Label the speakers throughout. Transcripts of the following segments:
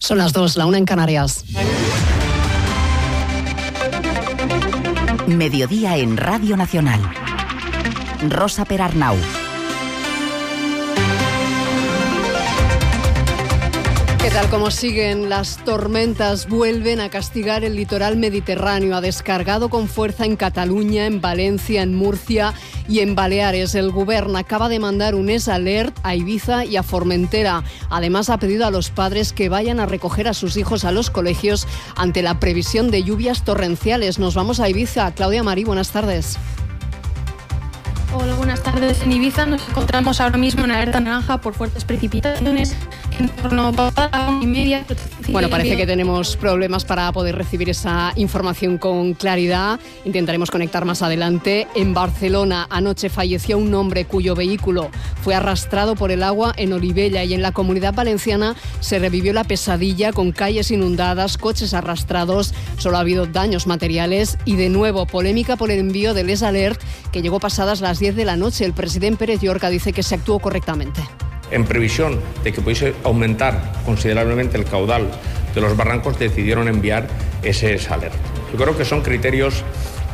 Speaker 1: Son las 2, la 1 en Canarias.
Speaker 2: Mediodía en Radio Nacional. Rosa Perarnau.
Speaker 1: ¿Qué tal? ¿Cómo siguen? Las tormentas vuelven a castigar el litoral mediterráneo. Ha descargado con fuerza en Cataluña, en Valencia, en Murcia y en Baleares. El Govern acaba de mandar un alert a Ibiza y a Formentera. Además, ha pedido a los padres que vayan a recoger a sus hijos a los colegios ante la previsión de lluvias torrenciales. Nos vamos a Ibiza. Claudia Marí, buenas tardes.
Speaker 3: Hola, buenas tardes. En Ibiza nos encontramos ahora mismo en alerta naranja por fuertes precipitaciones. En torno a la 1:30.
Speaker 1: Bueno, parece que tenemos problemas para poder recibir esa información con claridad. Intentaremos conectar más adelante. En Barcelona, anoche falleció un hombre cuyo vehículo fue arrastrado por el agua en Olivella, y en la Comunidad Valenciana se revivió la pesadilla con calles inundadas, coches arrastrados. Solo ha habido daños materiales y, de nuevo, polémica por el envío del alert que llegó pasadas las 10 de la noche. El presidente Pérez Llorca dice que se actuó correctamente.
Speaker 4: En previsión de que pudiese aumentar considerablemente el caudal de los barrancos, decidieron enviar ese alert. Yo creo que son criterios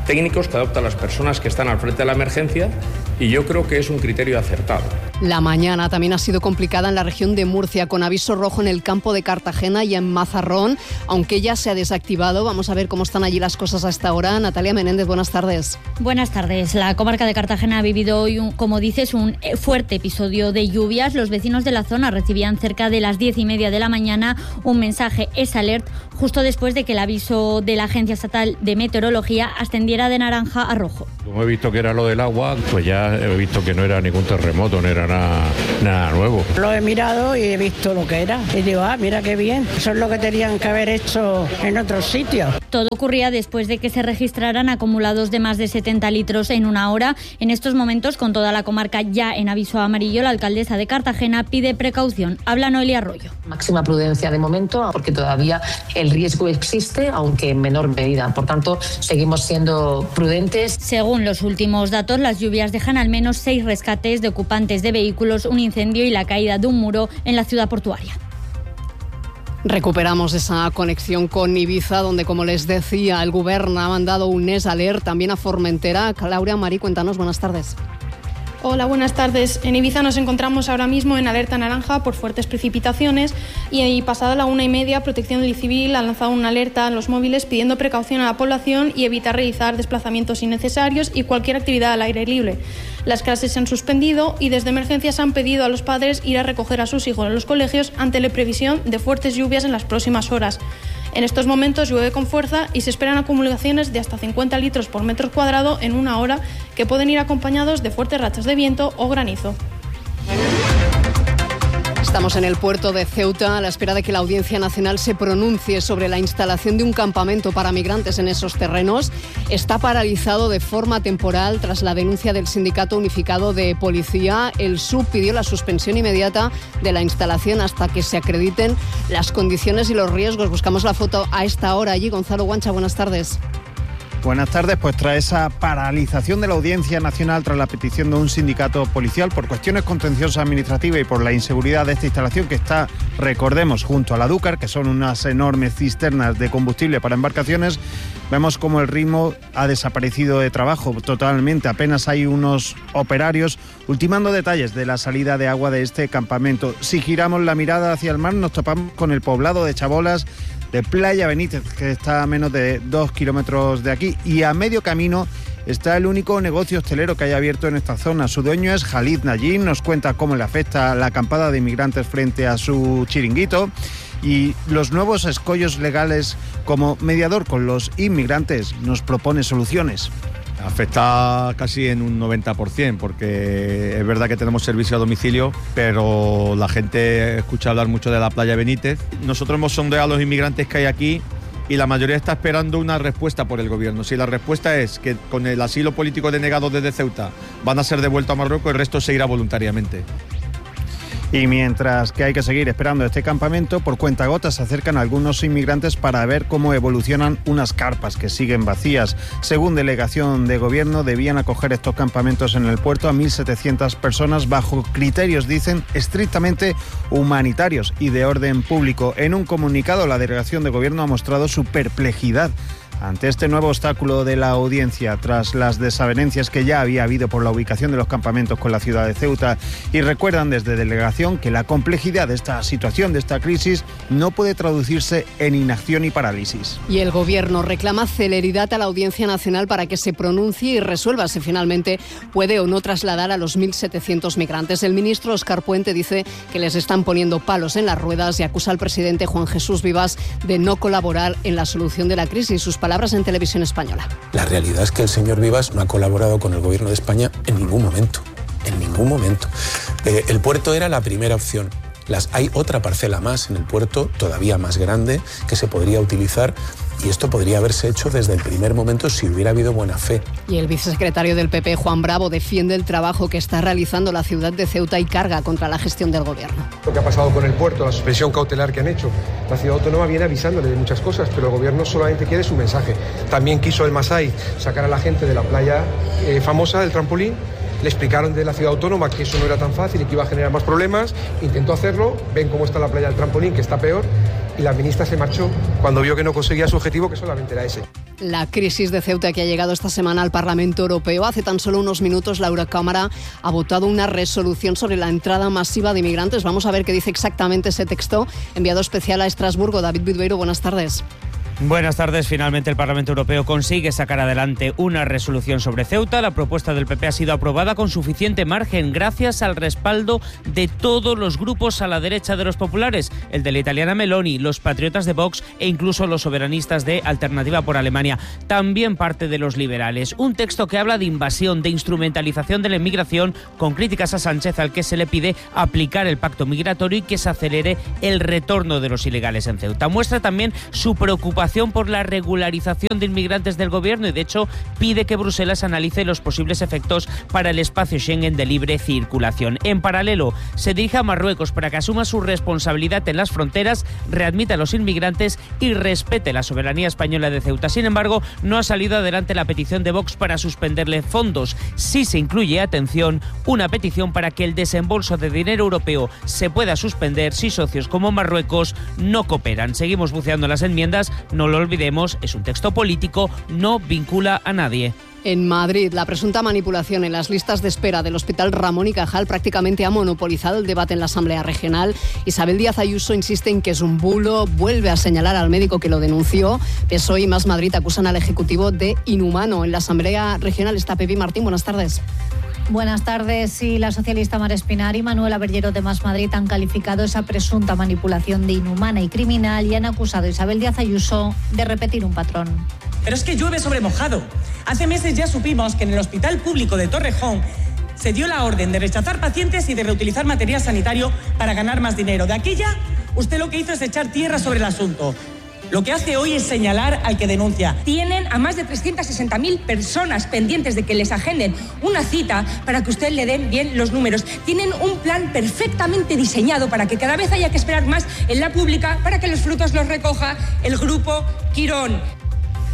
Speaker 4: técnicos que adoptan las personas que están al frente de la emergencia, y yo creo que es un criterio acertado.
Speaker 1: La mañana también ha sido complicada en la región de Murcia, con aviso rojo en el campo de Cartagena y en Mazarrón, aunque ya se ha desactivado. Vamos a ver cómo están allí las cosas a esta hora. Natalia Menéndez, buenas tardes.
Speaker 5: Buenas tardes. La comarca de Cartagena ha vivido hoy, como dices, un fuerte episodio de lluvias. Los vecinos de la zona recibían cerca de las 10:30 de la mañana un mensaje alert, justo después de que el aviso de la Agencia Estatal de Meteorología ascendiera de naranja a rojo.
Speaker 6: Como he visto que era lo del agua, pues ya he visto que no era ningún terremoto, no era nada nuevo.
Speaker 7: Lo he mirado y he visto lo que era. Y digo, mira qué bien. Eso es lo que tenían que haber hecho en otros sitios.
Speaker 5: Todo ocurría después de que se registraran acumulados de más de 70 litros en una hora. En estos momentos, con toda la comarca ya en aviso amarillo, la alcaldesa de Cartagena pide precaución. Habla Noelia Arroyo.
Speaker 8: Máxima prudencia de momento, porque todavía el riesgo existe, aunque en menor medida. Por tanto, seguimos siendo prudentes.
Speaker 5: Según los últimos datos, las lluvias dejan al menos 6 rescates de ocupantes de vehículos, un incendio y la caída de un muro en la ciudad portuaria.
Speaker 1: Recuperamos esa conexión con Ibiza, donde, como les decía, el Govern ha mandado un alert también a Formentera. Claudia Marí, cuéntanos, buenas tardes.
Speaker 3: Hola, buenas tardes. En Ibiza nos encontramos ahora mismo en alerta naranja por fuertes precipitaciones y pasada la 1:30, Protección Civil ha lanzado una alerta a los móviles pidiendo precaución a la población y evitar realizar desplazamientos innecesarios y cualquier actividad al aire libre. Las clases se han suspendido y desde emergencias han pedido a los padres ir a recoger a sus hijos a los colegios ante la previsión de fuertes lluvias en las próximas horas. En estos momentos llueve con fuerza y se esperan acumulaciones de hasta 50 litros por metro cuadrado en una hora, que pueden ir acompañados de fuertes rachas de viento o granizo.
Speaker 1: Estamos en el puerto de Ceuta a la espera de que la Audiencia Nacional se pronuncie sobre la instalación de un campamento para migrantes en esos terrenos. Está paralizado de forma temporal tras la denuncia del Sindicato Unificado de Policía. El SUB pidió la suspensión inmediata de la instalación hasta que se acrediten las condiciones y los riesgos. Buscamos la foto a esta hora allí. Gonzalo Guancha, buenas tardes.
Speaker 9: Buenas tardes. Pues tras esa paralización de la Audiencia Nacional, tras la petición de un sindicato policial por cuestiones contenciosas administrativas y por la inseguridad de esta instalación que está, recordemos, junto a la Dúcar, que son unas enormes cisternas de combustible para embarcaciones, vemos como el ritmo ha desaparecido de trabajo totalmente. Apenas hay unos operarios ultimando detalles de la salida de agua de este campamento. Si giramos la mirada hacia el mar, nos topamos con el poblado de Chabolas, de Playa Benítez, que está a menos de 2 kilómetros de aquí, y a medio camino está el único negocio hostelero que hay abierto en esta zona. Su dueño es Khalid Najim, nos cuenta cómo le afecta la acampada de inmigrantes frente a su chiringuito y los nuevos escollos legales. Como mediador con los inmigrantes nos propone soluciones.
Speaker 10: Afecta casi en un 90%, porque es verdad que tenemos servicio a domicilio, pero la gente escucha hablar mucho de la Playa Benítez. Nosotros hemos sondeado a los inmigrantes que hay aquí y la mayoría está esperando una respuesta por el gobierno. Si la respuesta es que con el asilo político denegado desde Ceuta van a ser devueltos a Marruecos, el resto se irá voluntariamente.
Speaker 9: Y mientras que hay que seguir esperando este campamento, por cuentagotas se acercan algunos inmigrantes para ver cómo evolucionan unas carpas que siguen vacías. Según delegación de gobierno, debían acoger estos campamentos en el puerto a 1.700 personas bajo criterios, dicen, estrictamente humanitarios y de orden público. En un comunicado, la delegación de gobierno ha mostrado su perplejidad ante este nuevo obstáculo de la audiencia tras las desavenencias que ya había habido por la ubicación de los campamentos con la ciudad de Ceuta, y recuerdan desde delegación que la complejidad de esta situación, de esta crisis, no puede traducirse en inacción y parálisis.
Speaker 1: Y el Gobierno reclama celeridad a la Audiencia Nacional para que se pronuncie y resuelva si finalmente puede o no trasladar a los 1.700 migrantes. El ministro Óscar Puente dice que les están poniendo palos en las ruedas y acusa al presidente Juan Jesús Vivas de no colaborar en la solución de la crisis. Sus palabras en Televisión Española.
Speaker 11: La realidad es que el señor Vivas no ha colaborado con el Gobierno de España en ningún momento. En ningún momento. El puerto era la primera opción. Hay otra parcela más en el puerto, todavía más grande, que se podría utilizar, y esto podría haberse hecho desde el primer momento si hubiera habido buena fe.
Speaker 1: Y el vicesecretario del PP, Juan Bravo, defiende el trabajo que está realizando la ciudad de Ceuta y carga contra la gestión del Gobierno.
Speaker 12: Lo que ha pasado con el puerto, la suspensión cautelar que han hecho, la ciudad autónoma viene avisándole de muchas cosas, pero el Gobierno solamente quiere su mensaje. También quiso el Masai sacar a la gente de la playa famosa del trampolín. Le explicaron de la ciudad autónoma que eso no era tan fácil y que iba a generar más problemas. Intentó hacerlo, ven cómo está la playa del trampolín, que está peor, y la ministra se marchó cuando vio que no conseguía su objetivo, que solamente era ese.
Speaker 1: La crisis de Ceuta, que ha llegado esta semana al Parlamento Europeo. Hace tan solo unos minutos la Eurocámara ha votado una resolución sobre la entrada masiva de inmigrantes. Vamos a ver qué dice exactamente ese texto. Enviado especial a Estrasburgo, David Vidveiro, buenas tardes.
Speaker 13: Buenas tardes. Finalmente el Parlamento Europeo consigue sacar adelante una resolución sobre Ceuta. La propuesta del PP ha sido aprobada con suficiente margen gracias al respaldo de todos los grupos a la derecha de los populares, el de la italiana Meloni, los patriotas de Vox e incluso los soberanistas de Alternativa por Alemania. También parte de los liberales. Un texto que habla de invasión, de instrumentalización de la inmigración, con críticas a Sánchez, al que se le pide aplicar el pacto migratorio y que se acelere el retorno de los ilegales en Ceuta. Muestra también su preocupación por la regularización de inmigrantes del Gobierno y, de hecho, pide que Bruselas analice los posibles efectos para el espacio Schengen de libre circulación. En paralelo, se dirige a Marruecos para que asuma su responsabilidad en las fronteras, readmita a los inmigrantes y respete la soberanía española de Ceuta. Sin embargo, no ha salido adelante la petición de Vox para suspenderle fondos. Sí se incluye, atención, una petición para que el desembolso de dinero europeo se pueda suspender si socios como Marruecos no cooperan. Seguimos buceando en las enmiendas. No lo olvidemos, es un texto político, no vincula a nadie.
Speaker 1: En Madrid, la presunta manipulación en las listas de espera del Hospital Ramón y Cajal prácticamente ha monopolizado el debate en la Asamblea Regional. Isabel Díaz Ayuso insiste en que es un bulo, vuelve a señalar al médico que lo denunció. PSOE y Más Madrid acusan al Ejecutivo de inhumano. En la Asamblea Regional está Pepi Martín. Buenas tardes.
Speaker 14: Buenas tardes. Sí, la socialista Mar Espinar y Manuel Aberllero de Más Madrid han calificado esa presunta manipulación de inhumana y criminal y han acusado a Isabel Díaz Ayuso de repetir un patrón.
Speaker 15: Pero es que llueve sobre mojado. Hace meses ya supimos que en el Hospital Público de Torrejón se dio la orden de rechazar pacientes y de reutilizar material sanitario para ganar más dinero. De aquella, usted lo que hizo es echar tierra sobre el asunto. Lo que hace hoy es señalar al que denuncia.
Speaker 16: Tienen a más de 360.000 personas pendientes de que les agenden una cita para que usted le den bien los números. Tienen un plan perfectamente diseñado para que cada vez haya que esperar más en la pública para que los frutos los recoja el Grupo Quirón.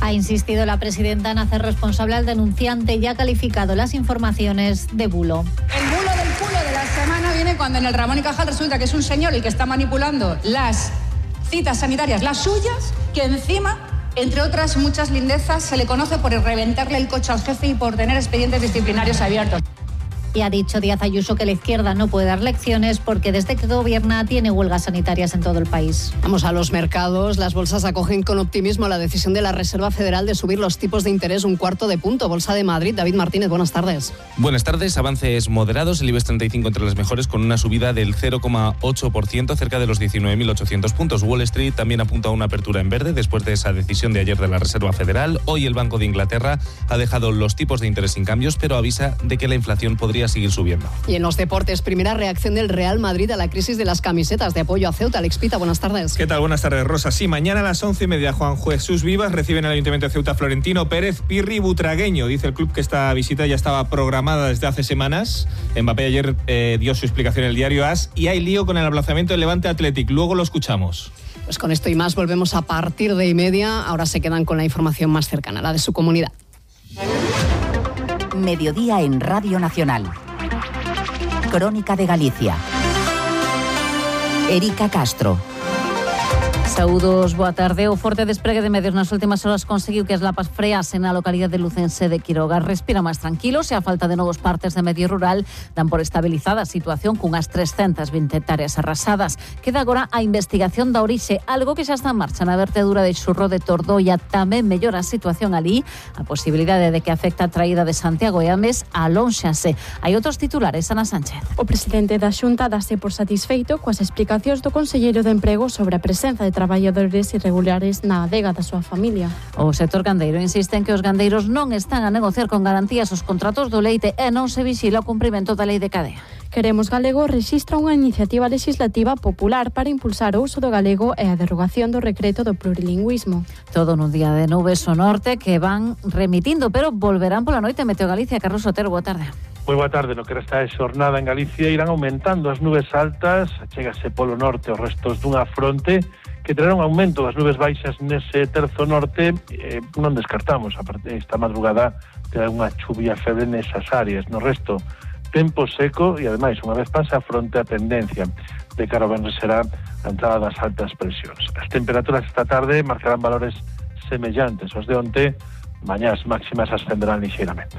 Speaker 14: Ha insistido la presidenta en hacer responsable al denunciante y ha calificado las informaciones de bulo.
Speaker 16: El bulo del culo de la semana viene cuando en el Ramón y Cajal resulta que es un señor el que está manipulando las citas sanitarias, las suyas, que encima, entre otras muchas lindezas, se le conoce por reventarle el coche al jefe y por tener expedientes disciplinarios abiertos.
Speaker 14: Y ha dicho Díaz Ayuso que la izquierda no puede dar lecciones porque desde que gobierna tiene huelgas sanitarias en todo el país.
Speaker 1: Vamos a los mercados. Las bolsas acogen con optimismo la decisión de la Reserva Federal de subir los tipos de interés 1/4 de punto. Bolsa de Madrid, David Martínez, buenas tardes.
Speaker 17: Buenas tardes. Avances moderados. El IBEX 35 entre las mejores con una subida del 0,8%, cerca de los 19.800 puntos. Wall Street también apunta a una apertura en verde después de esa decisión de ayer de la Reserva Federal. Hoy el Banco de Inglaterra ha dejado los tipos de interés sin cambios, pero avisa de que la inflación podría podría seguir subiendo.
Speaker 1: Y en los deportes, primera reacción del Real Madrid a la crisis de las camisetas de apoyo a Ceuta. Alex Pita, buenas tardes.
Speaker 18: ¿Qué tal? Buenas tardes, Rosa. Sí, mañana a las 11:30 Juan Jesús Vivas recibe en el Ayuntamiento de Ceuta Florentino Pérez Pirri Butragueño. Dice el club que esta visita ya estaba programada desde hace semanas. Mbappé ayer dio su explicación en el diario AS y hay lío con el aplazamiento del Levante Athletic. Luego lo escuchamos.
Speaker 1: Pues con esto y más volvemos a partir de 1:30. Ahora se quedan con la información más cercana, la de su comunidad.
Speaker 2: Mediodía en Radio Nacional. Crónica de Galicia. Erika Castro.
Speaker 19: Saúdos, boa tarde. O forte despregue de medios nas últimas horas conseguiu que as lapas freasen na localidade lucense de Quiroga. Respira máis tranquilos e a falta de novos partes de medio rural dan por estabilizada a situación cunhas 320 hectáreas arrasadas. Queda agora a investigación da orixe, algo que xa está en marcha na vertedura de Xurro de Tordoia. Tamén mellora a situación ali, a posibilidade de que afecta a traída de Santiago e Ames alónxase. Hai outros titulares, Ana Sánchez.
Speaker 20: O presidente da Xunta dase por satisfeito coas explicacións do conselleiro de Emprego sobre a presenza de traballadores irregulares na adega da súa familia.
Speaker 19: O sector gandeiro insiste en que os gandeiros non están a negociar con garantías os contratos do leite e non se vixila o cumprimento da lei de cadea.
Speaker 20: Queremos Galego rexistra unha iniciativa legislativa popular para impulsar o uso do galego e a derogación do decreto do plurilingüismo.
Speaker 19: Todo nun día de nubes ao norte que van remitindo, pero volverán pola noite. Meteo Galicia, Carlos Otero, boa tarde.
Speaker 21: Moi boa tarde. No que resta de xornada en Galicia irán aumentando as nubes altas, chégase polo norte os restos dunha fronte que terá un aumento das nubes baixas nese terzo norte. Non descartamos, a partir esta madrugada terá unha chuvia febre nesas áreas. No resto, tempo seco e, ademais, unha vez pasa a fronte a tendencia de cara ao venres será a entrada das altas presións. As temperaturas esta tarde marcarán valores semellantes aos de onte, mañás máximas ascenderán lixeiramente.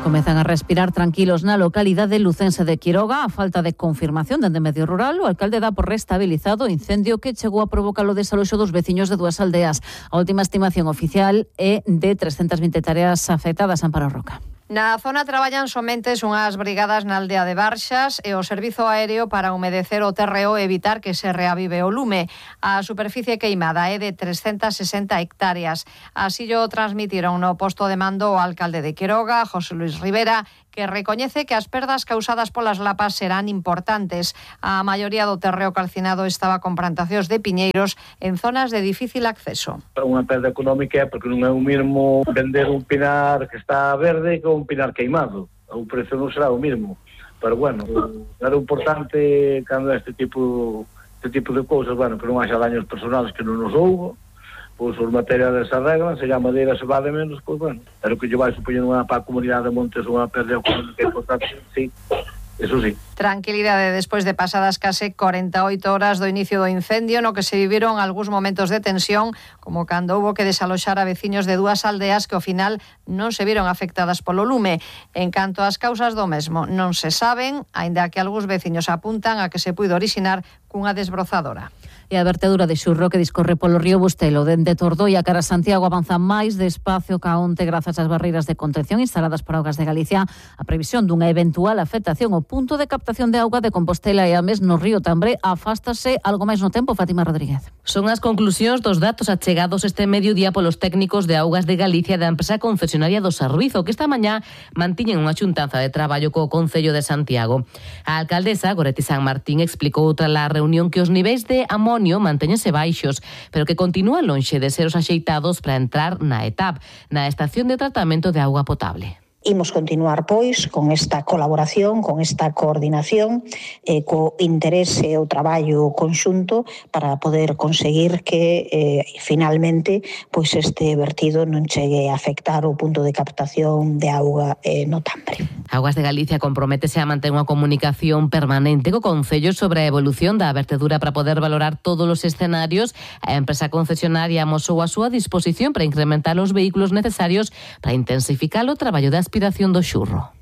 Speaker 19: Comezan a respirar tranquilos na localidade lucense de Quiroga. A falta de confirmación dende medio rural, o alcalde dá por restabilizado o incendio que chegou a provocar o desaloxo dos veciños de dúas aldeas. A última estimación oficial é de 320 tareas afectadas. Amparo Roca.
Speaker 22: Na zona traballan somente unhas brigadas na aldea de Barxas e o servizo aéreo para humedecer o terreo e evitar que se reavive o lume. A superficie queimada é de 360 hectáreas. Así o transmitiron no posto de mando o alcalde de Quiroga, José Luis Rivera, que recoñece que as perdas causadas polas lapas serán importantes. A maioría do terreo calcinado estaba con plantacións de piñeiros en zonas de difícil acceso.
Speaker 21: Unha perda económica é porque non é o mesmo vender un pinar que está verde que un pinar queimado. O prezo non será o mesmo. Pero bueno, era importante cando este tipo de cousas, bueno, que non haxa daños personales que non nos houbo. Pois os materiais se arreglan, se a madeira se vale menos, pois bueno, pero que lle vai supoñendo para a comunidade de Montes unha perda económica importante, sí, eso sí.
Speaker 22: Tranquilidade despois de pasadas case 48 horas do inicio do incendio, no que se viviron algúns momentos de tensión, como cando houbo que desaloxar a veciños de dúas aldeas que ao final non se viron afectadas polo lume. En canto ás causas do mesmo, non se saben, aínda que algúns veciños apuntan a que se puido orixinar cunha desbrozadora.
Speaker 19: E a vertedura de Xurro que discorre polo río Bustelo dende Tordoia cara a Santiago avanza máis despacio ca onte grazas ás barreiras de contención instaladas por Augas de Galicia. A previsión dunha eventual afectación ao punto de captación de auga de Compostela e Ames no río Tambre afástase algo máis no tempo. Fátima Rodríguez.
Speaker 23: Son as conclusións dos datos achegados este mediodía polos técnicos de Augas de Galicia da empresa concesionaria do Servizo, que esta mañá mantiñen unha xuntanza de traballo co Concello de Santiago. A alcaldesa Goretti San Martín explicou tras a reunión que os niveis de amonio mantéñense baixos, pero que continúan lonxe de ser os axeitados para entrar na ETAP, na estación de tratamento de auga potable.
Speaker 24: Imos continuar, pois, con esta colaboración, con esta coordinación, co interese e o traballo conxunto para poder conseguir que, finalmente, pois este vertido non chegue a afectar o punto de captación de auga no Tambre.
Speaker 23: Augas de Galicia comprométese a manter unha comunicación permanente co Concello sobre a evolución da vertedura para poder valorar todos os escenarios. A empresa concesionaria amosou a súa disposición para incrementar os vehículos necesarios para intensificar o traballo de aspiración do Xurro.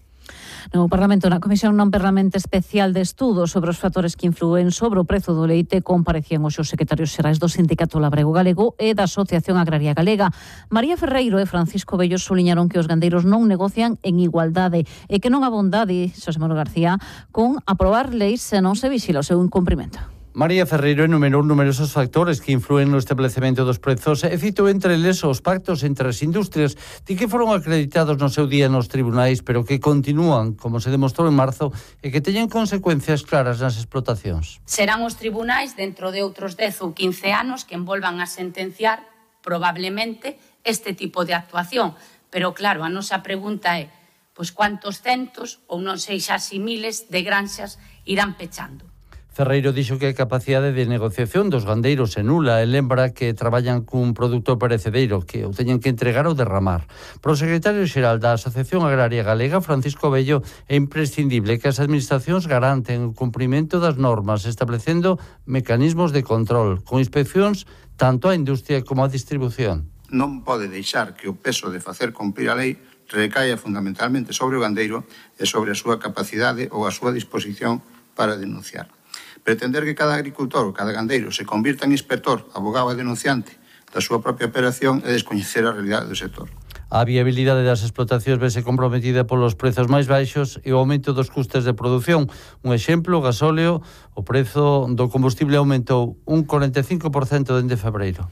Speaker 19: No Parlamento, na Comisión non permanente especial de estudo sobre os factores que influen sobre o prezo do leite, comparecían os secretarios xerais do Sindicato Labrego Galego e da Asociación Agraria Galega. María Ferreiro e Francisco Bello suliñaron que os gandeiros non negocian en igualdade e que non abondade, Xosé Manuel García, con aprobar leis se non se vixila o seu incumprimento.
Speaker 4: María Ferreiro enumerou numerosos factores que influen no establecemento dos prezos e citou entre eles os pactos entre as industrias que foron acreditados no seu día nos tribunais, pero que continúan, como se demostrou en marzo, e que teñen consecuencias claras nas explotacións.
Speaker 6: Serán os tribunais dentro de outros 10 ou 15 anos que envolvan a sentenciar probablemente este tipo de actuación. Pero claro, a nosa pregunta é, pois cuántos centos, ou non sei xa si miles, de granxas irán pechando.
Speaker 4: Ferreiro dixo que a capacidade de negociación dos gandeiros é nula e lembra que traballan cun produto perecedereiro que o teñen que entregar ou derramar. Para o secretario xeral da Asociación Agraria Galega, Francisco Bello, é imprescindible que as administracións garanten o cumprimento das normas, establecendo mecanismos de control, con inspeccións tanto á industria como á distribución.
Speaker 7: Non pode deixar que o peso de facer cumprir a lei recaia fundamentalmente sobre o gandeiro e sobre a súa capacidade ou a súa disposición para denunciar. Pretender que cada agricultor ou cada gandeiro se convirta en inspector, abogado e denunciante da súa propia operación é descoñecer a realidade do sector.
Speaker 4: A viabilidade das explotacións vese comprometida polos prezos máis baixos e o aumento dos custes de produción. Un exemplo, o gasóleo, o prezo do combustible aumentou un 45% dende febreiro.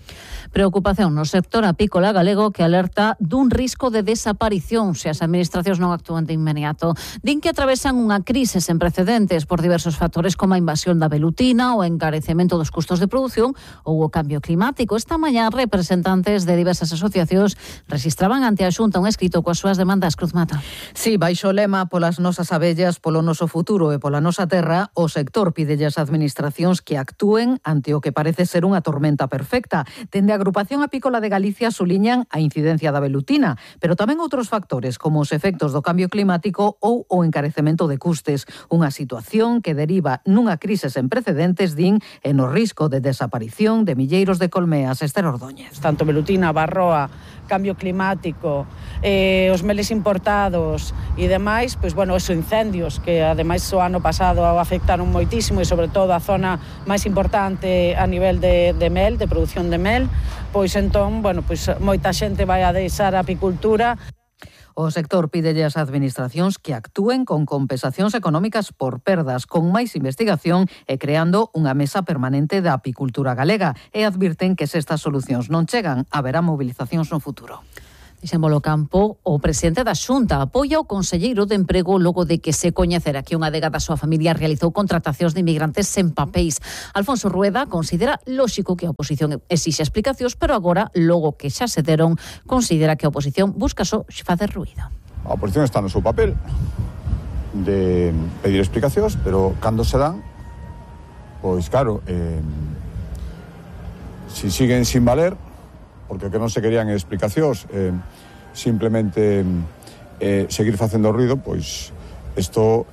Speaker 19: Preocupación no sector apícola galego que alerta dun risco de desaparición se as administracións non actúan de inmediato. Din que atravesan unha crise sen precedentes por diversos factores como a invasión da velutina, o encarecemento dos custos de produción ou o cambio climático. Esta mañá representantes de diversas asociacións registraban ante a Xunta un escrito coas súas demandas. Cruz Mata.
Speaker 8: Sí, baixo o lema polas nosas abellas, polo noso futuro e pola nosa terra, o sector pídelle ás administracións que actúen ante o que parece ser unha tormenta perfecta. Dende a Agrupación Apícola de Galicia suliñan a incidencia da velutina, pero tamén outros factores como os efectos do cambio climático ou o encarecemento de custes. Unha situación que deriva nunha crise sen precedentes, din, e no risco de desaparición de milleiros de colmeas. Esther Ordóñez.
Speaker 25: Tanto velutina, barroa, cambio climático, os meles importados e demais, pois bueno, esos incendios que ademais o ano pasado afectaron moitísimo e sobre todo a zona máis importante a nivel de mel, de produción de mel, pois entón, bueno, pois moita xente vai a deixar a apicultura.
Speaker 8: O sector pídelle ás administracións que actúen con compensacións económicas por perdas, con máis investigación e creando unha mesa permanente da apicultura galega, e advirten que se estas solucións non chegan, haberá movilizacións no futuro.
Speaker 19: Dixémolo campo, o presidente da Xunta apoia o conselleiro de Emprego logo de que se coñecera que unha adega da súa familia realizou contratacións de inmigrantes sen papéis. Alfonso Rueda considera lóxico que a oposición exixe explicacións, pero agora, logo que xa se deron, considera que a oposición busca só facer ruído.
Speaker 26: A oposición está no seu papel de pedir explicacións, pero cando se dan, pois claro, si siguen sin valer, porque que non se querían explicacións, simplemente seguir facendo ruido, pois isto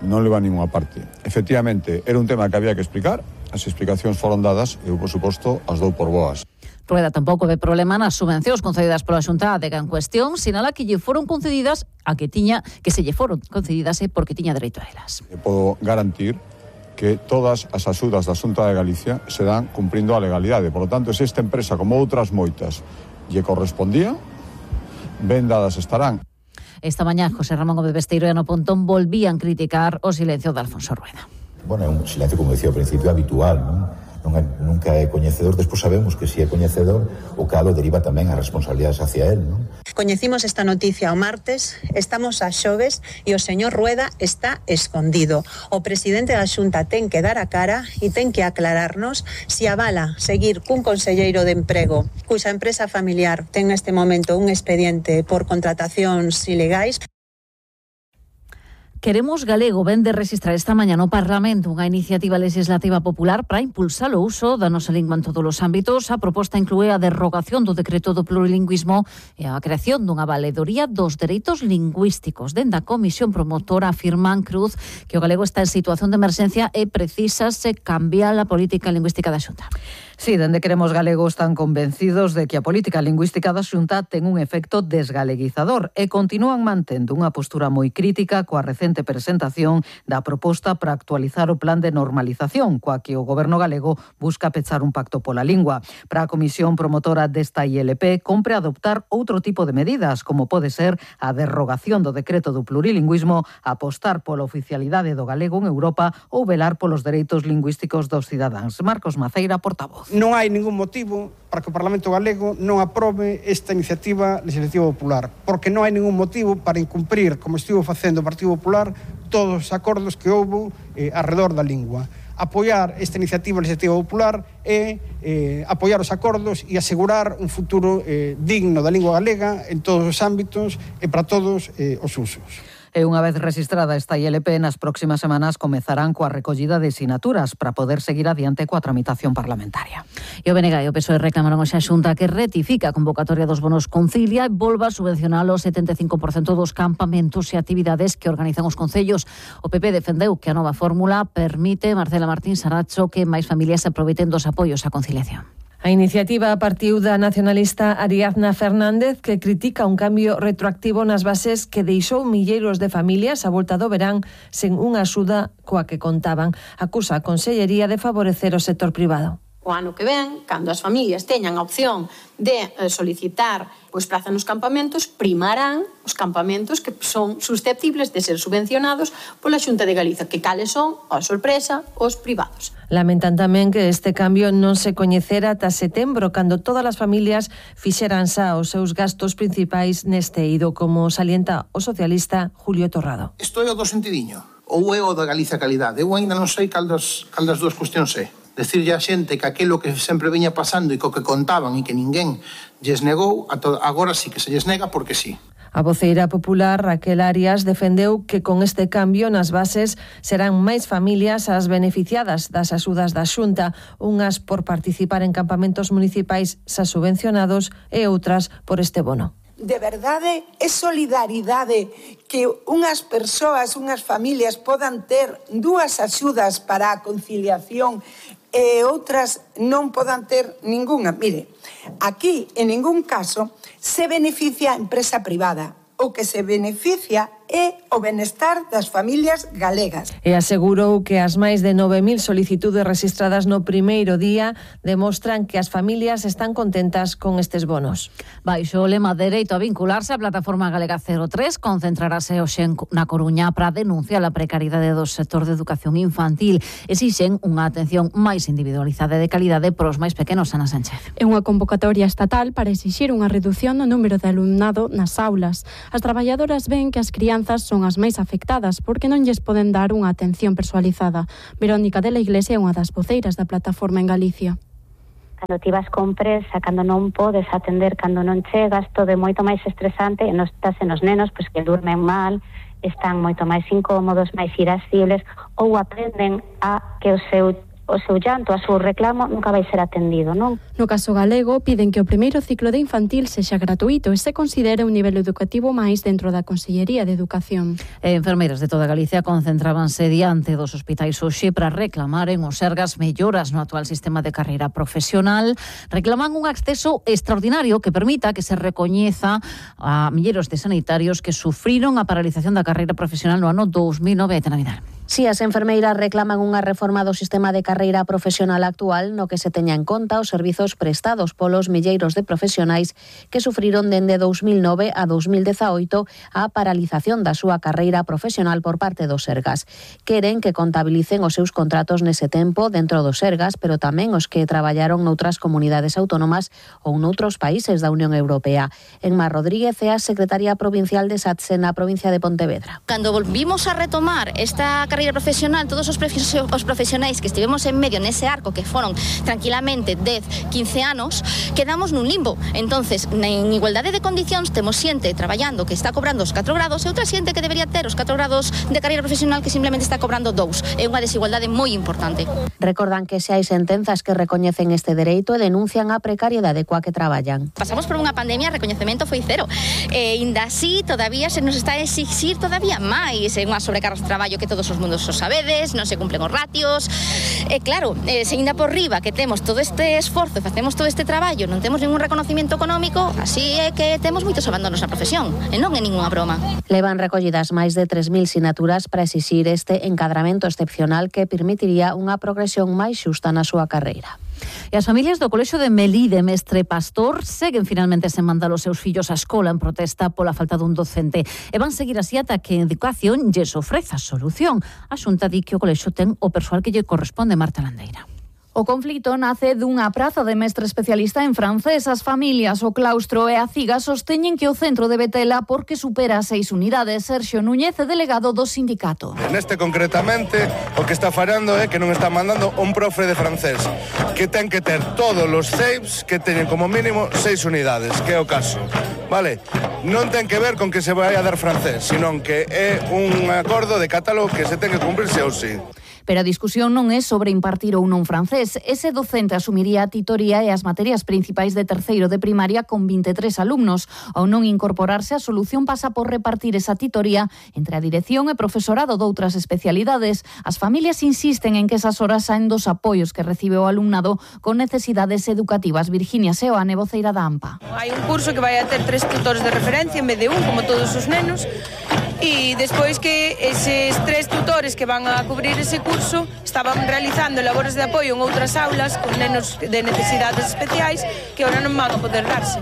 Speaker 26: non leva a ninguna parte. Efectivamente, era un tema que había que explicar, as explicacións foron dadas e eu, por suposto, as dou por boas.
Speaker 19: Rueda tampouco ve problema nas subvencións concedidas pola Xunta á adega en cuestión, sinala que lle foron concedidas que se lle foron concedidas porque tiña dereito a elas.
Speaker 26: Podo garantir que todas as axudas da Xunta de Galicia se dan cumprindo a legalidade. Por lo tanto, se esta empresa, como outras moitas, lle correspondía, ben dadas estarán.
Speaker 19: Esta mañá, José Ramón Gómez Besteiro e Ana Pontón volvían criticar o silencio de Alfonso Rueda.
Speaker 27: Bueno, é un silencio, como decía ao principio, habitual, non? Nunca é coñecedor, despois sabemos que si é coñecedor, o calo deriva tamén as responsabilidades hacia él, non?
Speaker 28: Coñecimos esta noticia o martes, estamos a xoves e o señor Rueda está escondido. O presidente da Xunta ten que dar a cara e ten que aclararnos si avala seguir cun conselleiro de Emprego cuxa empresa familiar ten neste momento un expediente por contratacións ilegais.
Speaker 19: Queremos Galego ven de registrar esta mañá no Parlamento unha iniciativa legislativa popular para impulsar o uso da nosa lingua en todos os ámbitos. A proposta inclúe a derrogación do decreto do plurilingüismo e a creación dunha valedoría dos dereitos lingüísticos. Dende a comisión promotora afirman Cruz que o galego está en situación de emerxencia e precisase cambiar a política lingüística da Xunta.
Speaker 8: Sí, dende Queremos Galego están convencidos de que a política lingüística da Xunta ten un efecto desgaleguizador e continúan mantendo unha postura moi crítica coa recente presentación da proposta para actualizar o plan de normalización, coa que o Goberno galego busca pechar un pacto pola lingua. Para a comisión promotora desta ILP, compre adoptar outro tipo de medidas, como pode ser a derrogación do decreto do plurilingüismo, apostar pola oficialidade do galego en Europa ou velar polos dereitos lingüísticos dos cidadáns. Marcos Maceira, portavoz.
Speaker 3: Non hai ningún motivo para que o Parlamento galego non aprobe esta iniciativa legislativa popular, porque non hai ningún motivo para incumprir, como estivo facendo o Partido Popular, todos os acordos que houbo arredor da lingua. Apoiar esta iniciativa legislativa popular e apoiar os acordos e asegurar un futuro digno da lingua galega en todos os ámbitos e para todos os usos.
Speaker 8: E unha vez registrada esta ILP, nas próximas semanas comezarán coa recollida de sinaturas para poder seguir adiante coa tramitación parlamentaria.
Speaker 19: E o BNG e o PSOE reclamaron hoxe a Xunta que retifica a convocatoria dos bonos Concilia e volva a subvencionar o 75% dos campamentos e actividades que organizan os concellos. O PP defendeu que a nova fórmula permite, Marcela Martín Saracho, que máis familias se aproveiten dos apoios á conciliación.
Speaker 5: A iniciativa partiu da nacionalista Ariadna Fernández, que critica un cambio retroactivo nas bases que deixou milleiros de familias a volta do verán sen unha axuda coa que contaban. Acusa a Consellería de favorecer o sector privado.
Speaker 9: O ano que ven, cando as familias teñan a opción de solicitar praza nos campamentos, primarán os campamentos que son susceptibles de ser subvencionados pola Xunta de Galicia, que cales son, a sorpresa, os privados.
Speaker 5: Lamentan tamén que este cambio non se coñecera ata setembro, cando todas as familias fixeran xa os seus gastos principais neste eido, como salienta o socialista Julio Torrado.
Speaker 10: Isto é o do sentidiño, ou é o da Galicia Calidade? Eu ainda non sei cal das dúas cuestións é. Decirlle a xente que aquilo que sempre viña pasando e co que contaban e que ninguén lles negou, agora sí que se lles nega porque sí.
Speaker 5: A voceira popular Raquel Arias defendeu que con este cambio nas bases serán máis familias as beneficiadas das axudas da Xunta, unhas por participar en campamentos municipais xa subvencionados e outras por este bono.
Speaker 11: De verdade, é solidaridade que unhas persoas, unhas familias podan ter dúas axudas para a conciliación e outras non podan ter ningunha. Mire, aquí en ningún caso se beneficia a empresa privada. O que se beneficia é o benestar das familias galegas.
Speaker 5: E asegurou que as máis de 9.000 solicitudes registradas no primeiro día demostran que as familias están contentas con estes bonos.
Speaker 19: Baixo o lema dereito a vincularse, a plataforma galega 03 concentrarase hoxe na Coruña para denunciar a precariedade do sector de educación infantil. Exixen unha atención máis individualizada e de calidade para os máis pequenos, Ana Sánchez.
Speaker 20: É unha convocatoria estatal para exixir unha reducción no número de alumnado nas aulas. As traballadoras ven que as crianzas son as máis afectadas porque non lles poden dar unha atención persoalizada. Verónica de la Iglesia é unha das voceiras da plataforma en Galicia.
Speaker 12: Cando ti vas con presa, cando non podes atender, cando non chegas, todo é moito máis estresante e non estás en os nenos pois que durmen mal, están moito máis incómodos, máis irascibles ou aprenden a que o seu llanto, a seu reclamo nunca vai ser atendido, non?
Speaker 20: No caso galego, piden que o primeiro ciclo de infantil sexa gratuito e se considere un nivel educativo máis dentro da Consellería de Educación.
Speaker 19: Enfermeiras de toda Galicia concentrábanse diante dos hospitais hoxe para reclamar en os Sergas melloras no actual sistema de carreira profesional. Reclaman un acceso extraordinario que permita que se recoñeza a milleiros de sanitarios que sufriron a paralización da carreira profesional no ano 2009. Aitana Vidal.
Speaker 13: Si as enfermeiras reclaman unha reforma do sistema de carreira profesional actual no que se teña en conta os servizos prestados polos milleiros de profesionais que sufriron dende 2009 a 2018 a paralización da súa carreira profesional por parte dos Sergas. Queren que contabilicen os seus contratos nese tempo dentro dos Sergas, pero tamén os que traballaron noutras comunidades autónomas ou noutros países da Unión Europea. Enma Rodríguez é a secretaria provincial de SATSE na provincia de Pontevedra.
Speaker 15: Cando volvimos a retomar esta carreira profesional, todos os profesionais que estivemos en medio nese arco, que foron tranquilamente 10, 15 anos, quedamos nun limbo. Entonces, en igualdade de condicións, temos xente traballando que está cobrando os 4 grados e outra xente que debería ter os 4 grados de carreira profesional que simplemente está cobrando 2. É unha desigualdade moi importante.
Speaker 13: Recordan que se hai sentenzas que recoñecen este dereito e denuncian a precariedade coa que traballan.
Speaker 15: Pasamos por unha pandemia, o recoñecemento foi cero. E ainda así, todavía se nos está a exixir todavía máis unha sobrecarga de traballo que todos os mundos mundo os sabedes, non se cumplen os ratios. E claro, se ainda por riba que temos todo este esforzo, facemos todo este traballo, non temos ningún reconocimiento económico, así é que temos moitos abandonos na profesión, e non é ningunha broma.
Speaker 13: Levan recollidas máis de 3.000 sinaturas para exixir este encadramento excepcional que permitiría unha progresión máis xusta na súa carreira.
Speaker 19: E as familias do Colexio de Melide, Mestre Pastor, seguen finalmente sen mandar os seus fillos á escola en protesta pola falta dun docente. E van seguir así ata que Educación lles ofreza solución. A Xunta di que o colexio ten o persoal que lle corresponde. Marta Landeira.
Speaker 1: O conflito nace dunha praza de mestre especialista en francés. As familias, o claustro e a CIGA sosteñen que o centro debe tela porque supera 6 unidades. Sergio Núñez é delegado do sindicato.
Speaker 2: Neste concretamente o que está fallando é que non está mandando un profe de francés que ten que ter todos os CEIPs que teñen como mínimo 6 unidades, que é o caso. Vale, non ten que ver con que se vai a dar francés, senón que é un acordo de catálogo que se ten que cumprirse ou sí.
Speaker 1: Pero a discusión non é sobre impartir ou non francés. Ese docente asumiría a titoría e as materias principais de terceiro de primaria con 23 alumnos. Ao non incorporarse, a solución pasa por repartir esa titoría entre a dirección e profesorado doutras especialidades. As familias insisten en que esas horas saen dos apoios que recibe o alumnado con necesidades educativas. Virginia Seoane, voceira da AMPA.
Speaker 14: Hai un curso que vai a ter 3 tutores de referencia en vez de un, como todos os nenos, e despois que eses 3 tutores que van a cubrir ese curso estaban realizando labores de apoio en outras aulas con nenos de necesidades especiais que ahora non van a poder darse,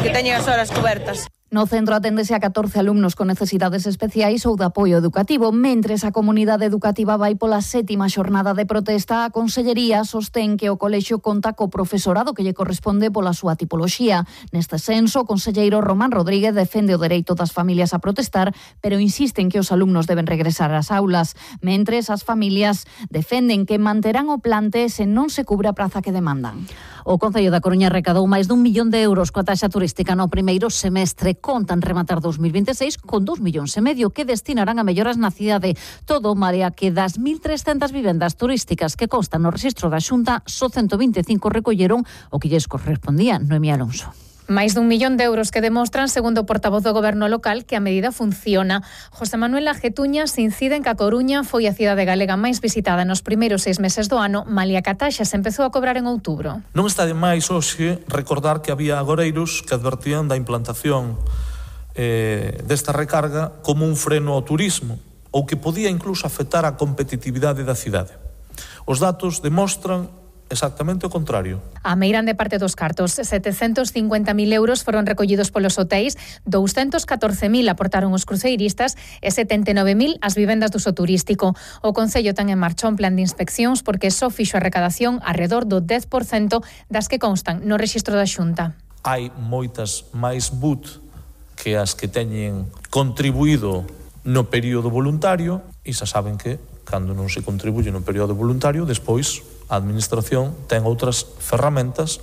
Speaker 14: que teñen as horas cobertas.
Speaker 1: No centro aténdese a 14 alumnos con necesidades especiais ou de apoio educativo. Mentres a comunidade educativa vai pola 7ª xornada de protesta, a Consellería sostén que o colexio conta co profesorado que lle corresponde pola súa tipoloxía. Neste senso, o conselleiro Román Rodríguez defende o dereito das familias a protestar, pero insisten que os alumnos deben regresar ás aulas. Mentres, as familias defenden que manterán o plante se non se cubre a praza que demandan.
Speaker 19: O Concello da Coruña recadou máis dun millón de euros coa taxa turística no primeiro semestre. Contan rematar 2026 con 2,5 millóns que destinarán a melloras na cidade. Todo marea que das 1.300 vivendas turísticas que constan no rexistro da Xunta, só 125 recolleron o que lles correspondía. Noemí Alonso.
Speaker 16: Máis dun millón de euros que demostran, segundo o portavoz do Goberno local, que a medida funciona. José Manuel Ajetuñas incide en que a Coruña foi a cidade galega máis visitada nos primeiros 6 meses do ano, malia que a taxa se empezou a cobrar en outubro.
Speaker 17: Non está de máis hoxe recordar que había agoreiros que advertían da implantación desta recarga como un freno ao turismo ou que podía incluso afectar a competitividade da cidade. Os datos demostran exactamente o contrario.
Speaker 16: A meirande parte dos cartos, 750.000 euros foron recollidos polos hotéis, 214.000 aportaron os cruceiristas e 79.000 as vivendas do uso turístico. O Concello ten en marcha un plan de inspeccións porque só fixo a recadación arredor do 10% das que constan no rexistro da Xunta.
Speaker 17: Hai moitas máis BUT que as que teñen contribuído no período voluntario e xa saben que cando non se contribuye no período voluntario, despois a Administración ten outras ferramentas